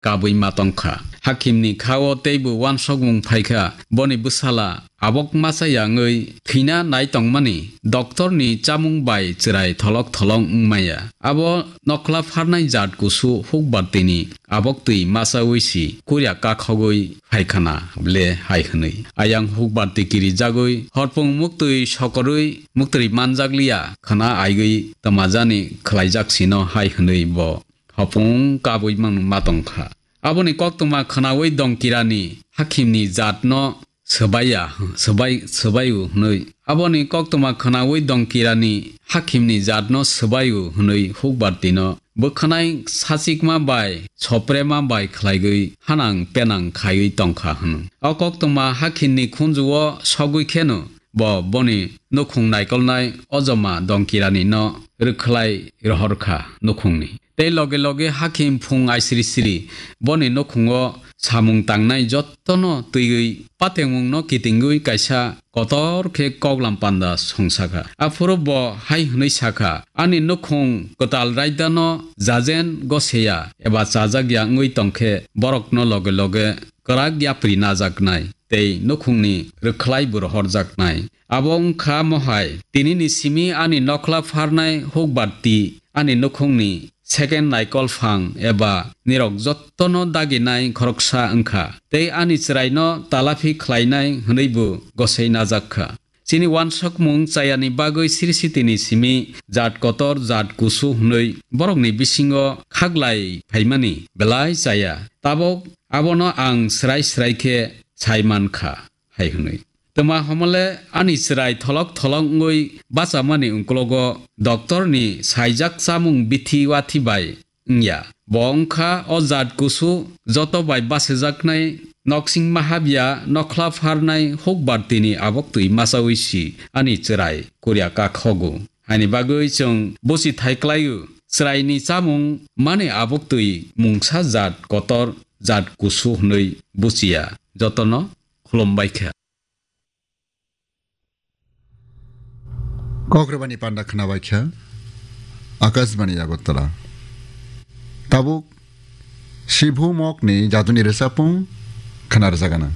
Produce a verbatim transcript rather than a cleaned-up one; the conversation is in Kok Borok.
kabwi ma tongkha. Hakimni khao teibo wansokmung phaikha, boni bwsala abok masa yangwi thwina nai tongmani doktorni chamung bai chwrai tholok tholok wngmaya. Abo nokhla pharnai jat kusu hukbartini abok twi masawi si kurya kakhogwi phaikhana ble hai hwnwi. Ayang hukbarti kirijagwi horpung muktwi sokorwi muktwi manjakliya khwna aigwi twmajani khwlaijak sino hai hwnwi bo hopung kabwi mang ma tongkha. Aboni koktwma khwnawi dongkirani hakimni jatno swbaiya, swbai, swbaiu hwnwi. Aboni koktwma khwnawi dongkirani hakimni jatno swbaiu hwnwi hukbartino bwkhanai sachikma bai soprema bai khlaigwi hanang penang khaiwi tongkha hwno. O koktwma hakimni khunjuo sogwi kheno bo boni nukhung naikolnai ojoma dongkirani no rwkhlai rohorkha nukhungni. Tei loge loge hakim phung aisiri siri boni nukhungo samung tangnai jottono twiwi patengmungno kitingwi kaisa kotor khe koklam panda songsakha. Aphuru bo hai hwnwi sakha, "Ani nukhung kwtal raidano jajen goseya eba chajakya wngwi tongkhe borokno loge loge kwrak yapri najaknai tei nukhungni rwkhlai bo rohorjaknai." Abo wngkha mohai, tinini simi ani nokhla pharnai hukbarti, ani nukhungni second naikol phang eba nirok jottono daginai khoroksa wngkha, tei ani chwraino talaphi khlainai hwnwibo gosei najakkha. Chini wansokmung chayani bagwi siri sitini simi jat kotor, jat kusu hwnwi borokni bisingo khaklai phaimani belai chaya. Tabok abono ang srai srai khe sai mankha, hai hwnwi. Twma homole ani chwrai tholok tholok wngwi bachamani ungklogo doktorni saijak chamung bithi wathi bai wngya. Bo wngkha o jat kusu joto bai basejaknai noksing mahabya nokhla pharnai hukbartini abok twi masawi si ani chwrai kurya kakhogo. Haini bagwi chwng buchi thai klaio, chwraini chamung mani abok twi mungsa jat kotor, jat kusu hwnwi buchiya. Jotono khulumbai kha. Kokrwbani panda khwnabai kha Akashbani Agartala. Tabuk Sibhu Mokni jaduni rwchapung khwna rwjagana.